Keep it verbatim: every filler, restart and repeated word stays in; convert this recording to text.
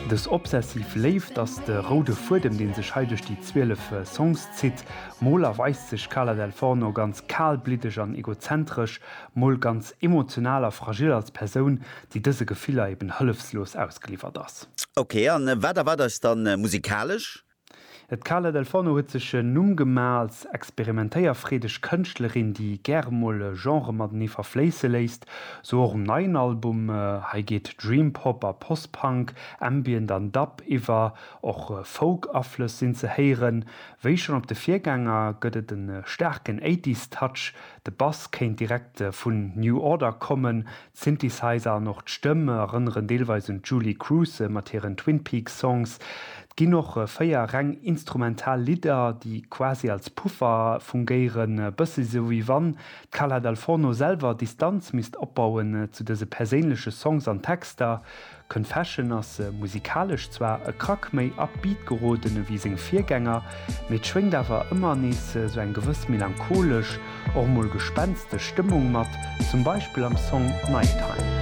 Dës obsessiv Léift ass de roude Fuedem, dee sech hei duerch déi zwielef Songs zitt. Mol erweist sech d'Carla Dal Forno ganz kalbliddeg an egozentresch, mol ganz emotional a fragil als Persoun, déi dëse Gefiller eben hëllefslos ausgeliwwert ass. Ok, an wat erwaart eis dann musikalesch? D'Carla Dal Forno huet sech en Numm gemaach als experimentéierfreedeg Kënschtlerin, déi gäre mol Genrë matenee verfléisse léisst. Sou och um neien Album. Hei geet Dream Pop a Post-Punk, Ambient an Dub iwwer, och Folk-Aflëss sinn ze héieren. Wéi schonn op de Virgänger gëtt et e staarken Eighties-Touch, de Bass kéint direkt vun New Order kommen, d'Synthesizer an och d'Stëmm erënneren deelweis un d'Julee Cruise mat hiren Twin Peaks Songs. Et ginn och véier reng instrumental Lidder, déi quasi als Puffer fungéieren, e bëssi sou wéi wann d'Carla Dal Forno selwer Distanz misst opbauen zu dëse perséinleche Songs an Texter. Confession ass musikalesch zwar e Krack méi upbeat geroden ewéi seng Virgänger, mee et schwéngt awer ëmmer nees sou eng gewëss melancholesch, och mol gespenstesch Stëmmung mat, zum Beispill am Song Nighttime.